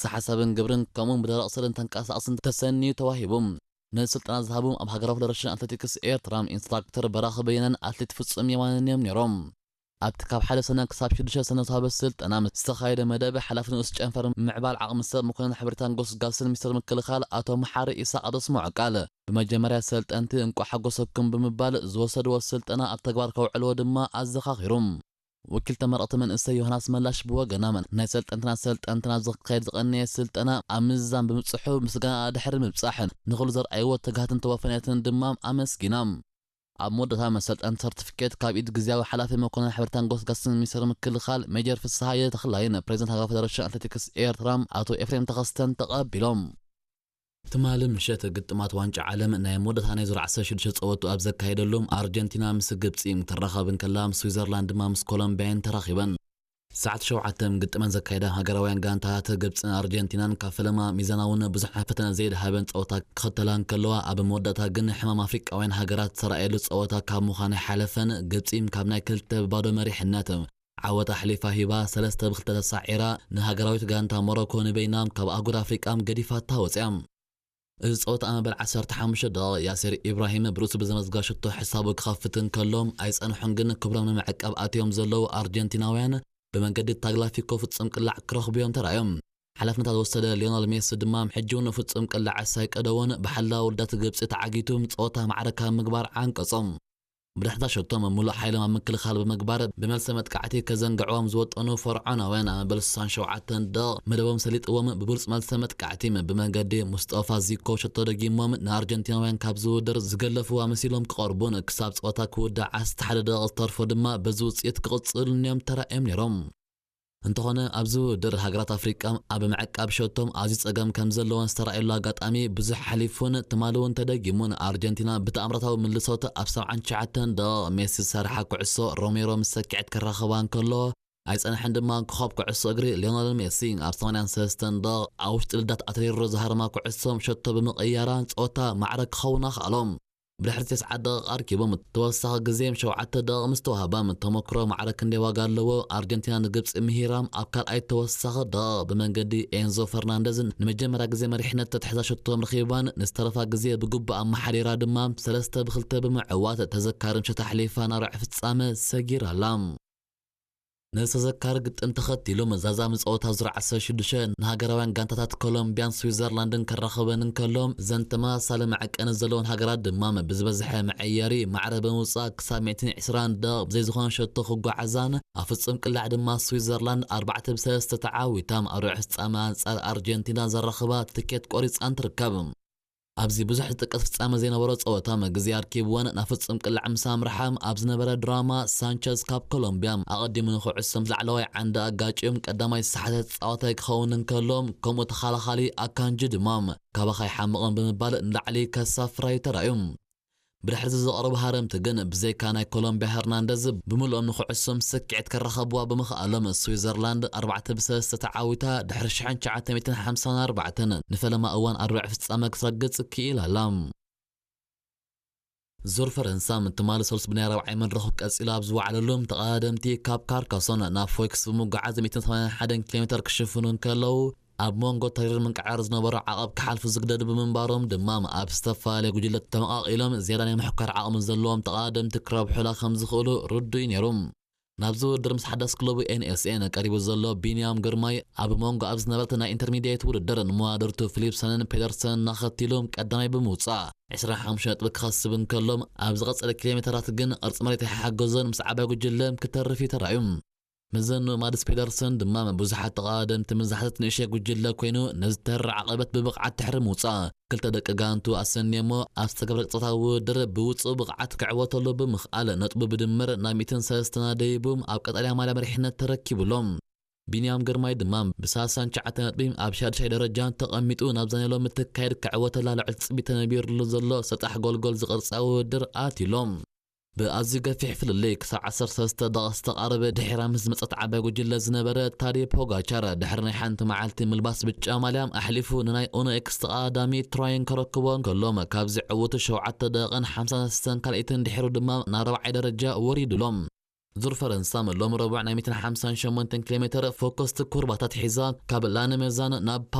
ሰሓሳብን ግብርን ከምኡን ብደረቕ ስእልን ተንቀሳቕስን ተሰንዩ ተዋሂቡ። ነዚ ስልጠና ዝሃቡ ኣብ ሃገራዊ ፌደሬሽን ኣትሌቲክስ ኤርትራ ኢንስትራክተር በራኺ በየነን ኣትሌት ፍጹም የማነን እዮም ነይሮም። ኣብቲ ካብ ሓደ ሰነ ክሳብ ሽዱሽተ ሰነ ዝተዋህበ ስልጠና ምስ ዝተኻየደ መደብ ሓላፊ ንኡስ ጨንፈር ምዕባል ዓቕሚ ሰብ መኮነን ሓበሬታን ጎስጋስን ሚኒስትር ምክልኻል ኣቶ መሓሪ ኢሳቕ ኣብ ዘስምዖ ቃል፣ ብመጀመርያ ሰልጠንቲ እንቋዕ ሓጎሰኩም ብምባል ዝወሰድዎ ስልጠና ኣብ ተግባር ከውዕልዎ ድማ ኣዘኻኺሩ። ወኪል ተመረቕቲ መንእሰይ ዮሃናስ መላሽ ብወገና ናይ ሰልጠንትና ሰልጠንትና ዝካየድ ዝቐነየ ስልጠና ኣብ ምዝዛም ብምብፅሑ ምስጋና ድሕሪ ምብፃሕ ንኹሉ ዘርኣይዎ ትግሃትን ተወፈነትን ድማ ኣመስጊና። ኣብ መወዳእታ መሰልጠን ሰርቲፊኬት ካብ ኢድ ግዝያዊ ሓላፊ መኮነን ሕብረታን ጎስጋስን ሚኒስትር ምክልኻል ሜጀር ፍስሃየ ተኽላይን ፕሬዚደንት ሃገራዊ ፌደሬሽን ኣትሌቲክስ ኤርትራ ኣቶ ኤፍሬም ተኸስተን ተቐቢሎም። ትማሊ ምሸት ግጥማት ዋንጫ ዓለም ናይ መወዳእታ ናይ ዙር ዓሰርተ ሽዱሽተ ጸወቱ ኣብ ዘካየደሉ ኣርጀንቲና ምስ ግብጺ ትራኸብ እንከላ፣ ስዊዘርላንድ ድማ ምስ ኮሎምቢያን ተራኺበን። ሰዓት ሸውዓተ ግጥመን ዘካየዳ ሃገራውያን ጋንታታት ግብጽን ኣርጀንቲናን ካብ ፈለማ ሚዛናውን ብዙሕ ፈተነ ዘይድሃበን ጸወታ ክኸተላ እንከለዋ፣ ኣብ መወዳእታ ግን ሕማም ኣፍሪቃውያን ሃገራት ዝተራእየሉ ጸወታ ካብ ምዃን ኣይሓለፈን። ግብጺ ካብ ናይ ክልተ ብባዶ መሪሕነት ዓወት ኣሕሊፋ ሂባ፣ ሰለስተ ብክልተ ተሳዒራ፣ ንሃገራዊት ጋንታ ሞሮኮ ንበይና ካብ ኣህጉር ኣፍሪቃ ገዲፋታ ወጽያ። እዚ ጸወታ ኣብ መበል ዓሰርተ ሓሙሽተ ደቂቕ ያሲር ኢብራሂም ብርእሱ ብዘመዝጋ ሽቶ ሕሳቡ ክኸፍት እንከሎ፣ ኣይጸንሑን ግን ክብሮም ንምዕቃብ ኣትዮም ዘለዉ ኣርጀንቲናውያን ብመንገዲ ታግላፊኮ ፍጹም ቅላዕ ክረኽቡ እዮም ተራእዮም። ሓላፍነታ ዝወሰደ ሊዮነል ሜሲ ድማ ሕጂ እውን ፍጹም ቅላዕ ኣይቀደዎን፣ ብሓላ ውልዳት ግብጺ ተዓጊቱ ጸወታ ማዕረ ካብ ምግባር ዓንቀጾም። ብድሕሪታ ሸቶም ምሉእ ሓይሎም ኣብ ምክልኻል ብምግባር ብመልሰ መጥቃዕቲ ከዘንግዕዎም ዝወጠኑ ፈርዖናውያን ኣብ መበል ስሳን ሸውዓተን ደቕ መደቦም ሰሊጥዎም ብብሉጽ መልሰ መጥቃዕቲ ብመንገዲ ሙስጠፋ ዚኮ ሸቶ ደጊሞም ንኣርጀንቲናውያን ካብ ዝውድር ዝገለፍዋ መሲሎም ክቐርቡን ክሳብ ጸወታ ክውዳእ ዓሰርተ ሓደ ደቕ ዝተርፎ ድማ በዚ ውጽኢት ክቕጽሉን እዮም ተራእዮም ነይሮም። እንተኾነ ኣብዚ ውድድር ሃገራት ኣፍሪቃ ኣብ ምዕቃብ ሸቶም ኣዝዩ ጸገም ከም ዘለወን ዝተራእየሉ ኣጋጣሚ ብዙሕ ሓሊፉን ትማሊ እውን ተደጊሙን ኣርጀንቲና ብተኣምራታዊ ምልሶት ኣብ ሰብዓን ትሽዓተን ደቂቕ ሜሲ ዝሰርሓ ኩዕሶ ሮሜሮ ምስ ሰኪዐት ክራኸባ እንከሎ ኣይጸንሐን ድማ ኮኸብ ኩዕሶ እግሪ ሊዮነል ሜሲ ኣብ ሰማንያን ሰለስተን ደቂቕ ኣብ ውሽጢ ልዳት ኣትሌሮ ዝሃረማ ኩዕሶ ሸቶ ብምቕያራ ጸወታ ማዕረ ክኸውን ኣኽኣሎም። ብድሕሪ ተስዓ ደቂቕ ኣርኪቦም ተወሳኺ ግዜ ሸውዓተ ደቂቕ ምስ ተዋህባም ተመክሮ ማዕረ ክንደይ ዋጋ ኣለዎ። ኣርጀንቲና ንግብጺ ምሂራም ኣብ ካልኣይ ተወሳኺ ደቂቕ ብመንገዲ ኤንዞ ፈርናንደዝ ንመጀመርያ ግዜ መሪሕነት ተትሕዛ ሸቶም ረኺባን ንዝተረፋ ግዜ ብግቡእ ኣመሓዲራ ድማ ሰለስተ ብክልተ ብምዕዋት ተዘካሪ ምሸት ኣሕሊፋ ናብ ርብዒ ፍጻመ ሰጊራ ኣላ። ነዚ ተዘካሪ ግጥም ተኸቲሉ መዛዛሚ ጸወታ ዙር ዓሰርተ ሽዱሽተ ንሃገራውያን ጋንታታት ኮሎምቢያን ስዊዘርላንድን ከራኽበን እንከሎ፣ እዘን ተመሳሳሊ መዐቀኒ ዘለወን ሃገራት ድማ ብዝበዝሐ መዐየሪ ማዕረ ብምውጻእ ክሳብ ሚእትን ዕስራን ደቂቕ ብዘይ ዝኾነ ሸቶ ክጓዓዛን ኣብ ፍጹም ቅላዕ ድማ ስዊዘርላንድ ኣርባዕተ ብሰለስተ ተዓዊታ ኣብ ርብዒ ፍጻመ ኣንጻር ኣርጀንቲና ዘራኽባ ትኬት ቆሪጻን ትርከብ። ኣብዚ ብዙሕ ዝጥቀስ ፍጻመ ዘይነበሮ ጸወታ መግዜ ኣርኪብወን ናብ ፍጹም ቅላዕ ምስ ኣምርሓ ኣብ ዝነበረ ድራማ ሳንቸዝ ካብ ኮሎምቢያ ኣቐዲሙ ንኹዕሶም ላዕለዋይ ዓንዲ ኣጋጭዮም ቀዳማይ ዝሰሓተ ተጻዋታይ ክኸውን እንከሎ ከምኡ ተኸላኻሊ ኣካንጂ ድማ ካባኻ ይሓምቕን ብምባል ንላዕሊ ከሳፍራ እዩ ተራእዩ። ብድሕሪ እዚ ዝቐረቡ ሃረምቲ ግን ብዘይካ ናይ ኮሎምቢያ ሄርናንደዝ ብምልኦም ንኩዕሶም ስኪዕት ከራኸብዋ ብምኽኣሎም ስዊዘርላንድ ኣርባዕተ ብሰለስተ ተዓዊታ ድሕሪ ሽሕን ትሽዓተ ሚእትን ሓምሳን ኣርባዕተን ንፈለማ እዋን ኣብ ርብዒ ፍጻመ ክትረግጽ ክኢላ ኣላ። ዙር ፈረንሳ ትማሊ ሰሉስ ብናይ ራብዓይ መድረኹ ቀጺሉ ኣብ ዝወዓለሉ ተቐዳደምቲ ካብ ካርካሶን ናብ ፎይክስ ብምጉዓዝ ሚእትን ሰማንያን ሓደን ኪሎ ሜተር ክሽፍኑ እንከለዉ ኣብ መንጎ ተሪር ምንቅዕራር ዝነበሮ ዓቐብ ክሓልፉ ዝግደዱ ብምንባሮም ድማ ኣብ ዝተፈላለየ ጉጅለ ተመቓቒሎም ዝያዳ ናይ ምሕኳር ዓቕሚ ዘለዎም ተቐዳደምቲ ክረብሑላ ከም ዝኽእሉ ርዱእ እዩ ነይሩ። ናብዚ ውድድር ምስ ሓዳስ ክለቡ ኤንኤስኤን ቀሪቡ ዘሎ ቢንያም ግርማይ ኣብ መንጎ ኣብ ዝነበረት ናይ ኢንተርሚድየት ውድድር ንመዋድርቱ ፊሊፕሰንን ፔደርሰንን ኣኸቲሉ ቀዳማይ ብምውጻእ ዕስራን ሓሙሽተን ነጥቢ ክኸስብ እንከሎ ኣብ ዝቐጸለ ኪሎ ሜተራት ግን ቅርጺ መሬት ኣይሓገዞን ምስ ዓባይ ጉጅለ ክተርፍ እዩ ተራእዩ። መዘንኡ ማድስ ፔደርሰን ድማ ብዙሓት ተቐዳደምቲ ምስ ዝሓተት ንእሽተይ ጉጅለ ኮይኑ ነዚ ተራ ዓቐበት ብብቕዓት ድሕሪ ምውጻእ ክልተ ደቂ ጋንቱ ኣሰንየሞ ኣብ ዝተገብረ ቅጽበታዊ ውድድር ብውጹእ ብቕዓት ክዕወተሉ ብምኽኣል ነጥቡ ብድምር ናብ ሚእትን ሰለስተን ኣደይቡ ኣብ ቀጠልያ ማልያ መሪሕነት ተረኪቡሎም። ቢንያም ግርማይ ድማ ብሳልሳን ትሽዓተ ነጥቢ ኣብ ሻድሻይ ደረጃ ተቐሚጡ ናብዛ ናይ ሎሚ ትካየድ ክዕወተላ ልዑል ትጽቢት ተነቢርሉ ዘሎ ሰጣሕ ጎልጎል ዝቕርጻ ውድድር ኣትዩሎም። ብኣዝዩ ገፊሕ ፍልልይ ክሳብ ዓሰርተ ሰለስተ ደቂቕ ዝተቓረበ ድሒራ ምስ ዝመጸት ዓባይ ጉጅለ ዝነበረ ታዴ ፖጋቻር ድሕሪ ናይ ሓንቲ መዓልቲ ምልባስ ብጫ ማልያ ኣሕሊፉ ንናይ ኡኖ ኤክስ ተቐዳዳሚ ትራይን ከረክቦ እንከሎ ካብዚ ዕውቱ ሸውዓተ ደቂቕን ሓምሳን ሰለስተን ካልኢትን ድሒሩ ድማ ናብ ራብዓይ ደረጃ ወሪዱሎም። ዙር ፈረንሳ ሎም ረቡዕ ናይ ሚእትን ሓምሳን ሸሞንተን ኪሎ ሜትር ፎኮስቲ ኩርባታት ሒዛ ካብ ላነመዛን ናብ